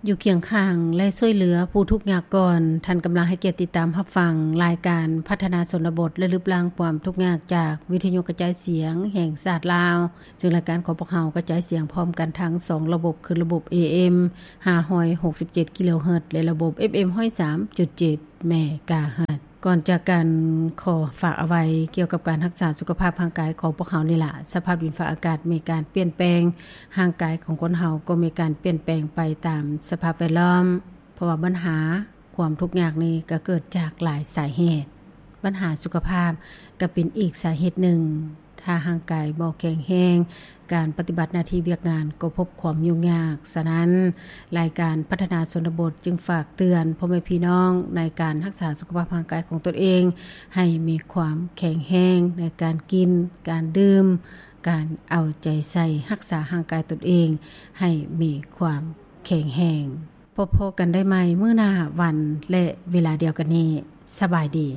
ຢູ່ຄຽງຂ້າງ ແລະ ຊ່ວຍເຫຼືອຜູ້ທຸກຍາກກ່ອນ. ທ່ານກຳລັງໃຫ້ກຽດຕິດຕາມຮັບຟັງລາຍການພັດທະນາຊົນນະບົດ ແລະ ລຶບລ້າງຄວາມທຸກຍາກ ຈາກວິທະຍຸກະຈາຍສຽງແຫ່ງຊາດລາວ, ເຊິ່ງລາຍການຂອງພວກເຮົາກະຈາຍສຽງພ້ອມກັນທັງສອງລະບົບ ຄືລະບົບ ເອເອັມ ຫ້າຮ້ອຍຫົກສິບເຈັດ ກິໂລເຮີດ ແລະ ລະບົບ ເອັຟເອັມ ຮ້ອຍສາມຈຸດເຈັດ ເມກາເຮີດ. ກ່ອນຈາກກັນ ຂໍຝາກເອົາໄວ້ກ່ຽວກັບການຮັກສາສຸຂະພາບຮ່າງກາຍຂອງພວກເຮົານີ້ລະ. ສະພາບດິນຟ້າອາກາດມີການປ່ຽນແປງ, ຮ່າງກາຍຂອງຄົນເຮົາກໍມີການປ່ຽນແປງໄປຕາມສະພາບແວດລ້ອມ, ເພາະວ່າບັນຫາຄວາມທຸກຍາກນີ້ກໍເກີດຈາກຫຼາຍສາເຫດ. ບັນຫາສຸຂະພາບກໍເປັນອີກສາເຫດໜຶ່ງ. ຖ້າຮ່າງກາຍບໍ່ແຂງແຮງ, ການປະຕິບັດໜ້າທີ່ວຽກງານກໍພົບຄວາມຫຍຸ້ງຍາກ. ສະນັ້ນ, ລາຍການພັດທະນາຊົນນະບົດຈຶ່ງຝາກເຕືອນພໍ່ແມ່ພີ່ນ້ອງໃນການຮັກສາສຸຂະພາບຮ່າງກາຍຂອງຕົນເອງ ໃຫ້ມີຄວາມແຂງແຮງໃນການກິນ, ການດື່ມ, ການເອົາໃຈໃສ່ຮັກສາຮ່າງກາຍຕົນເອງໃຫ້ມີຄວາມແຂງແຮງ. ພົບພໍ້ກັນໄດ້ໃໝ່ມື້ໜ້າວັນ ແລະ ເວລາດຽວກັນນີ້. ສະບາຍດີ.